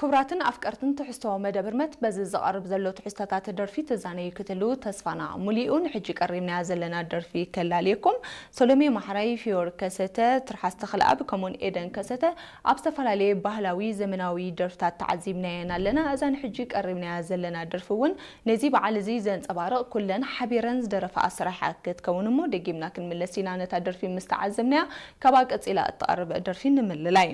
ክቡራትን ኣፍቀርትን ትሕዝቶ መደብ ህርመት፣ በዚ ዝቐርብ ዘሎ ትሕዝቶታት ደርፊ ትዛነዩ ክትህልዉ ተስፋና ሙሉእ እዩ። ንሕጂ ቀሪብናያ ዘለና ደርፊ ከላልየኩም። ሰሎሜ ማሕራይ፣ ፊዮሪ ከሰተ፣ ትርሓስ ተኽለኣብ ከምኡውን ኤደን ከሰተ ኣብ ዝተፈላለየ ባህላዊ ዘመናዊ ደርፍታት ተዓዚብናየን ኣለና። እዛ ንሕጂ ቀሪብናያ ዘለና ደርፊ እውን ነዚ በዓል እዚ ዘንጸባርቕ ኩለን ሓቢረን ዝደረፋ ኣሰራርሓ ክትከውን እሞ ደጊምና ክንምለስ ኢና። ነታ ደርፊ ምስ ተዓዘብናያ ካብኣ ቀጺላ እትቐርብ ደርፊ ንምልላይ።